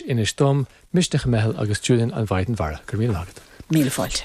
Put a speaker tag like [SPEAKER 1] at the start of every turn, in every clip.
[SPEAKER 1] Inis Dom, Misneach an Meitheal agus Julian an Mhaighdean Mhara. Go raibh míle maith agat.
[SPEAKER 2] Míle fáilte.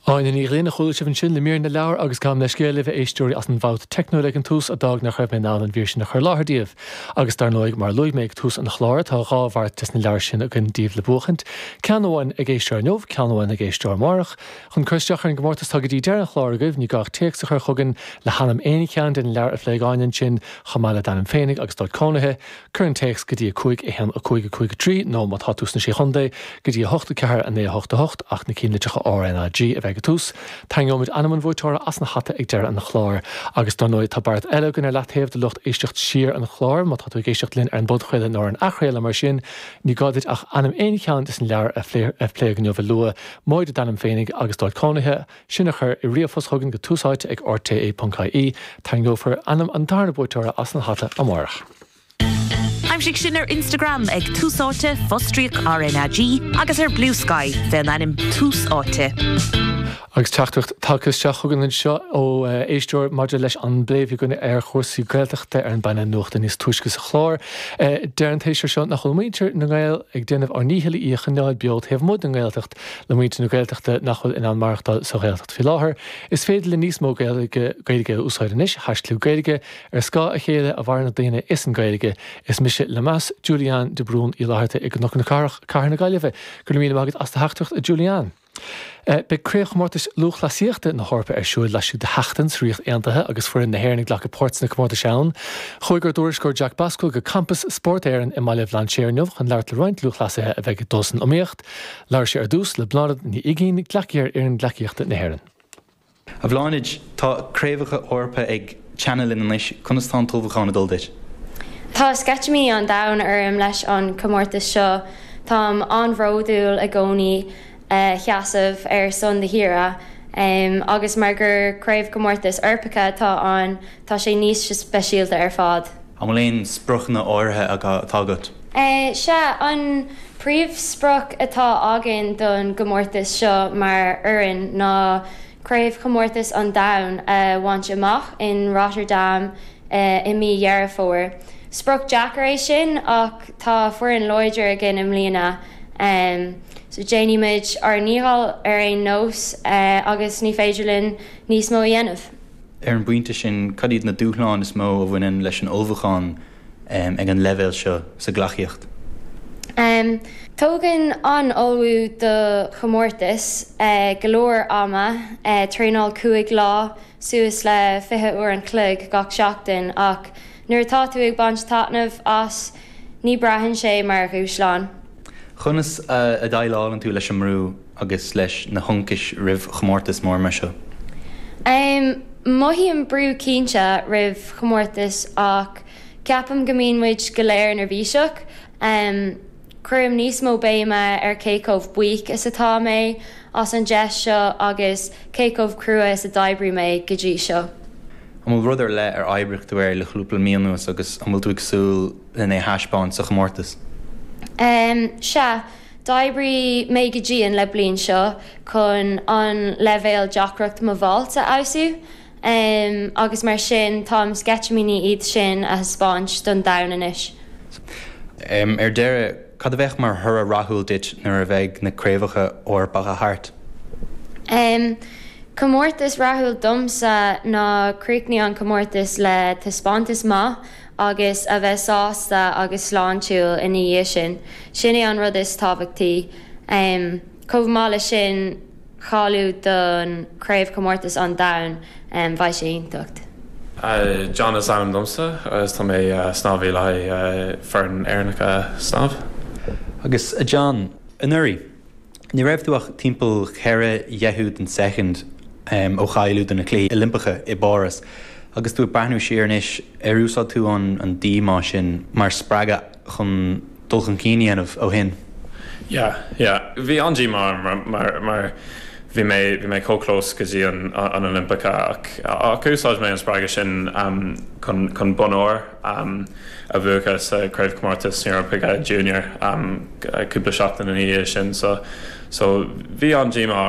[SPEAKER 1] Áine Ní Ghlinn a chuala sibh ansin le mír na leabhar agus gabhaim leithscéal libh a éisteoirí as an bhfabht teicniúil ag an tús a d'fhág nach raibh mé in ann an mhír sin a chur i láthair daoibh. Agus dar ndóigh, mar a luaigh mé ag tús an chláir, tá 2 bheart des na leabhair sin againn daoibh le buachaint, ceann amháin ag éisteoir inniu, ceann amháin ag éisteoir amárach. Chun cur isteach ar an gcomórtas tá go dtí deireadh an chláir agaibh, ní gá ach téacs a chur chugainn le hainm aon cheann de na leabhair a phléigh Áine ansin, chomh maith le d'ainm féinig agus d'áit cónaithe. Cuir an téacs go dtí 5 1 5 5 3 nó, má tá tú sna Sé Chontae, go dtí 8 4 9 8 8, ach na cinnlitreacha RnaG a bheith ag an tús. Tarraingeoimid ainm an bhuaiteora as an hata ag deireadh an chláir. Agus dar ndóigh, tá beart eile againn ar leataobh do lucht éisteacht siar an chláir, má tá tú ag éisteacht linn ar an bpodchraoladh nó ar an athchraoladh mar sin, ní gá duit ach ainm aon cheann des na leabhair a pléadh inniu a lua, móide d'ainm féinig agus d'áit cónaithe. sin a chur i ríomhphost chugainn go túsáite ag rte.ie. Tarraingeofar ainm an darna buaiteora as an hata amárach.
[SPEAKER 3] Aimsigh sinn ar Instagram ag Tús Áite, fostríoc RnaG, agus ar Bluesky fén ainm Tús Áite.
[SPEAKER 1] Agus teachtaireacht tagtha isteach chugainn anseo ó éisteoir maidir leis an bplé a bhí againn ar chúrsaí Gaeltachta ar an bpainéal nuachta níos túisce sa chlár. Deir an t-éisteoir seo nach bhfuil muintir na nGael ag déanamh ár ndícheall í a choinneáil beo taobh amuigh den nGaeltacht. le muintir na Gaeltachta nach bhfuil in ann maireachtáil sa Ghaeltacht faoi láthair. Is féidir linn níos mó Gaeilge Gaeilge a úsáid anois, haischlib Gaeilge, Ar scáth a chéile a mhaireann na daoine is an Ghaeilge. Is mise le meas, Julianne de Brún Uí Fhlatharta i gCnoc na Cathrach, Cathair na Gaillimhe. Go raibh míle maith agat as do theachtaireacht, a Julianne. Beidh Craobhchomórtais Lúthchleasaíochta na hEorpa ar siúl laistigh de sheachtain sa Ríocht Aontaithe agus foireann na hÉireann ag glacadh páirt sna comórtais ann. Chuaigh ár dtuairisceoir Jack Basquel go Campas Spórt Éireann i mBaile Bhlainséir inniu chun labhairt le roinnt lúthchleasaithe a bheidh ag dul san iomaíocht. Labhair sé ar dtús le Bláthnaid Ní Uigín, gleacaí ar fhoireann gleacaíochta na hÉireann.
[SPEAKER 4] A Bhláthnaid, tá craobhacha Eorpa ag teannadh linn anois, conas tá an t-ullmhúchán ag dul duit?
[SPEAKER 5] Tá sceitimíní an domhain orm leis an comórtas seo. Táim an-bhródúil i gcónaí sheasamh ar son do thíre agus mar gur craobhchomórtas Eorpacha atá ann, tá sé níos speisialta ar fad.
[SPEAKER 4] An bhfuil aon spriocanna áirithe atá agat?
[SPEAKER 5] Sea, an príomhsprioc atá againn don gcomórtas seo mar fhoireann ná Craobhchomórtas an Domhain a bhaint amach in Rotterdam i mí Dheireadh Fómhair. Sprioc deacair é sin ach tá foireann láidir againn i mbliana so déanfaimid ár ndícheall ar aon nós agus ní féidir linn níos mó a dhéanamh.
[SPEAKER 4] Ar an bpointe sin, cad iad na dúshláin is mó a bhaineann leis an ullmhúchán ag an leibhéal seo sa ghleacaíocht?
[SPEAKER 5] Tógann an ullmhú do chomórtas go leor ama, traenáil 5 lá, suas le 20 uair an chloig gach seachtain, ach nuair atá tú ag baint taitneamh as, ní braitheann sé mar dhúshlán.
[SPEAKER 4] Conas a dhéileálann tú leis an mbrú? agus leis na hionchais roimh chomórtas mór mar seo?
[SPEAKER 5] Mothaím brú cinnte roimh chomórtas ach ceapaim go mbíonn muid go léir neirbhíseach. Cuirim níos mó béime ar cé chomh buíoch is atá mé as an deis seo agus cé chomh crua is a d'oibrigh mé go dtí seo.
[SPEAKER 4] An bhfuil rud ar leith ar oibrigh tú air le cúpla mí anuas agus an bhfuil tú ag súil len é a thaispeáint sa chomórtas?
[SPEAKER 5] Sea. D'oibrigh mé go dian le bliain seo chun an leibhéal deacracht mo vault a fheabhsú agus mar sin táim sceitimíní iad sin a thaispeáint don domhan anois.
[SPEAKER 4] Ar deireadh, cad a bheadh mar thoradh rathúil duit nuair a bheidh na Craobhacha Eorpacha thart?
[SPEAKER 5] Comórtas rathúil domsa ná críochnú an comórtas le taispeántas maith agus a bheith sásta agus sláintiúil ina dhiaidh sin. Sin é an rud is tábhachtaí. Chomh maith leis sin, cáiliú don Chraobhchomórtas an Domhain, bheadh sé iontach.
[SPEAKER 6] John is ainm domsa agus tá mé snámhaí le haghaidh foireann Éireannacha snámh.
[SPEAKER 4] Agus a John, anuraidh, Ní raibh tú ach timpeall cheithre dheichiú den soicind ó cháiliú do na Cluichí Oilimpeacha i bPáras. Agus tú ag breathnú siar anois, ar úsáid tú an díomá sin mar spreagadh chun dul chun cinn a dhéanamh ó shin?
[SPEAKER 6] Yeah, yeah. Bhí an-díomá orm mar mar bhí mé bhí mé chomh close go dtí an an Oilimpeacha ach ach úsáid mé an spreagadh sin chun chun bonn óir a bhuachan sa Craobhchomórtas na hEorpa Junior cúpla seachtain ina dhiaidh sin so so bhí an-díomá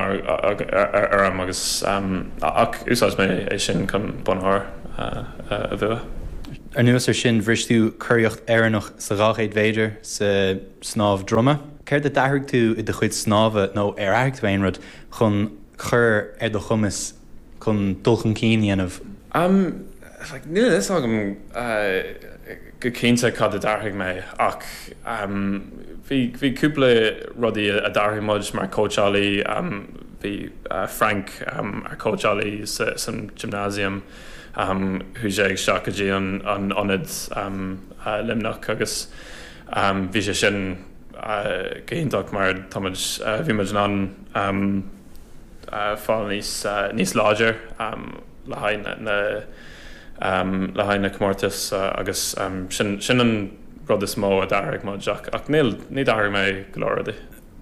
[SPEAKER 6] orm agus ach úsáid mé é sin chun bonn óir a bhua.
[SPEAKER 4] Anuas ar sin, bhris tú curaíocht Éireannach sa 200 mhéadar sa snámh droma. Céard a d'athraigh tú i do chuid snámha nó ar athraigh tú aon rud chun cur ar do chumas chun dul chun cinn a dhéanamh?
[SPEAKER 6] Umm, like, níl a fhios agam go cinnte cad a d'athraigh mé ach bhí, bhí cúpla rudaí a d'athraigh muid mar cóitseálaí. Bhí Frank, ár cóitseálaí san gymnasium, chuaigh sé isteach go dtí an ionad Luimneach agus bhí sé sin go hiontach mar tá muid, bhí muid in ann fáil níos, níos láidir le haghaidh na, le haghaidh na comórtas agus sin, sin an rud is mó a d'athraigh muid ach, ach níl, ní d'athraigh mé go leor rudaí.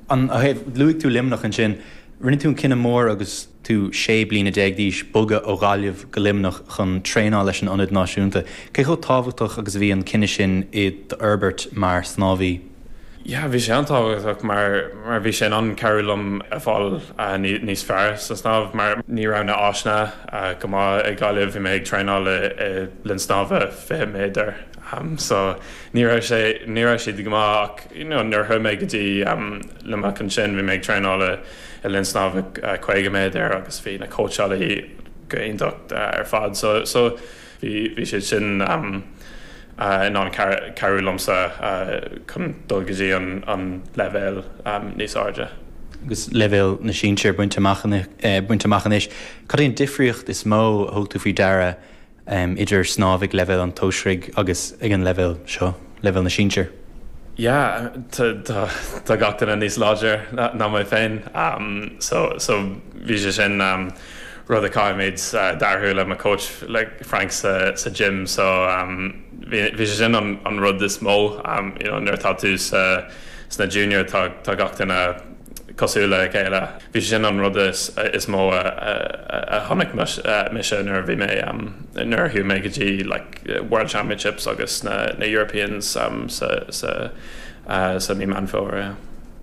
[SPEAKER 4] An, luaigh tú Luimneach ansin. Rinne tú an cinneadh mór agus tú 16 bliana d'aois bogadh ó Ghaillimh go Luimneach chun traenáil leis an Ionad Náisiúnta. Cé chomh tábhachtach agus a bhí an cinneadh sin i d'fhorbairt mar shnámhaí?
[SPEAKER 6] Yeah, bhí sé an-tábhachtach mar mar bhí sé in ann cabhrú liom a fáil níos fearr sa snámh mar ní raibh na áiseanna go maith i Gaillimh. Bhí mé ag traenáil i linn snámha 20 méadar so ní raibh sé ní raibh siad go maith ach you know nuair a chuaigh mé go dtí Luimneach ansin bhí mé ag traenáil i i linn snámha 50 méadar agus bhí na cóitseálaí go iontach ar fad so so bhí bhí siad sin in ann cabhrú liomsa chun dul go dtí an an leibhéal níos airde.
[SPEAKER 4] Agus leibhéal na sinsear bainte amach bainte amach anois, cad é an difríocht is mó a thug tú faoi deara idir snámh ag leibhéal an tsóisirigh agus ag an leibhéal seo, leibhéal na sinsear?
[SPEAKER 6] Yeah, tá gach duine níos láidir ná mé féin so so bhí sé sin rud a caithfimid d'athrú le mo coach le Frank sa sa gym so bhí bhí sé sin an an rud is mó you know nuair atá tú sa sna junior tá tá gach duine cosúil le chéile. Bhí sé sin an rud is mó a chonaic mise nuair a bhí mé, nuair a chuaigh mé go dtí like World Championships agus na Europeans sa sa sa mí Meán Fómhair, yeah.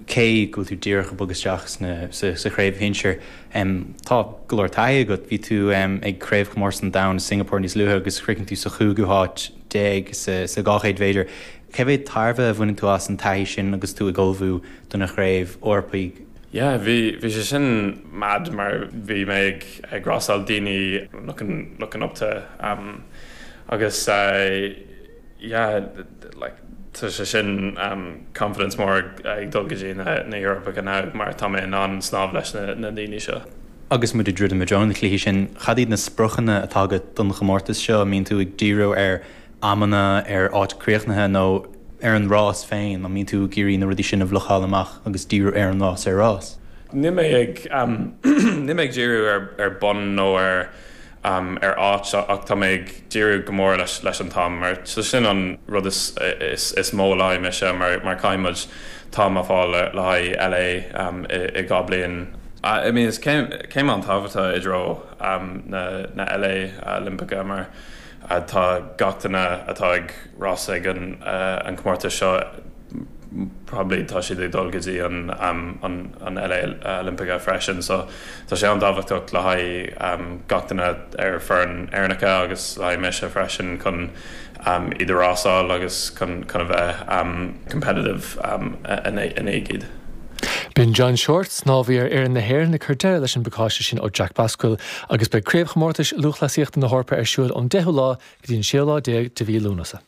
[SPEAKER 4] Cé go bhfuil tú díreach ag bogadh isteach sna sa chraobh shinsir, tá go leor taithí agat. Bhí tú ag Craobhchomórtas an Domhain i Singapore níos luaithe agus chríochnaigh tú sa chúigiú háit déag sa 200 mhéadar. Cé mhéad tairbhe a bhaineann tú as an taithí sin agus tú ag ullmhú do na Craobh Eorpaigh?
[SPEAKER 6] Yeah, bhí, bhí sé sin mad mar bhí mé ag, ag rásáil daoine looking, looking up to um agus eh yeah like tá sé sin um confidence mór ag, ag dul go dtí na, na Eorpacha now mar tá mé in ann snámh leis na, na daoine seo.
[SPEAKER 4] Agus muid ag druidim i dtreo na cluichí sin, cad iad na spriocanna atá agat don chomórtas seo? An mbíonn tú ag díriú ar amanna, ar áit críochnaithe nó ar an rás féin? An mbíonn tú ag iarraidh na rudaí sin a bhlocáil amach agus díriú ar an rás ar rás?
[SPEAKER 6] Níl mé ag níl mé ag díriú ar ar bun nó ar ar áit ach tá mé ag díriú go mór leis leis an t-am mar so sin an rud is is is mó le haghaidh mise mar mar caithfidh muid t-am a fháil le le haghaidh LA i i 2 bliain. I mean is céim céim an-tábhachtach i dtreo na na LA Oilimpeacha mar Tá gach duine atá ag rás ag an comórtas seo probably tá siad ag dul go dtí an an LA Oilimpeacha freisin so tá sé an-tábhachtach le haghaidh gach duine ar foireann Éireannacha agus le haghaidh mise freisin chun iad a rásáil agus chun chun a bheith competitive in aghaidh iad.
[SPEAKER 1] B'in John Shortt, snámhaí ar fhoireann na hÉireann, ag cur deireadh leis an bpacáiste sin ó Jack Basquill agus beidh Craobhchomórtais Lúthchleasaíochta na hEorpa ar siúl ón deichiú lá go dtí an séú lá déag de mhí Lúnasa.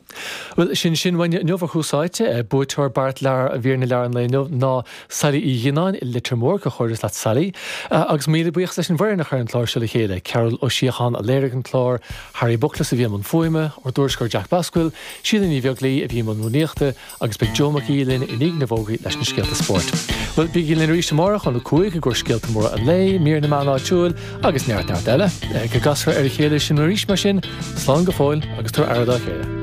[SPEAKER 1] Bhuel, sin sin uainne inniu ar Thús Áite. Buaiteoir Beart Leabhar Mhír na Leabhar an lae inniu ná Sailí Uí Ghionnáin i Leitir Móir. Comhghairdeas leat Sailí. Agus míle buíochas leis an bhfoireann a chuir an clár seo le chéile, Cearbhall Ó Síocháin a léirigh an clár, Harry Buckles a bhí i mbun fuaime, ár dtuairisceoir Jack Basquill, Síle Ní Bheaglaoi a bhí i mbun rúnaíochta, Agus beidh Joe Mac Aoidh linn i ndiaidh na bhfógraí leis na scéalta spóirt. Bhuel, bígí linn arís amárach óna 5 i gcomhair scéalta móra an lae, mír na meán áitiúil agus neart neart eile. Go gcasfar ar a chéile sinn arís mar sin, slán go fóill agus tabhair aire dá chéile.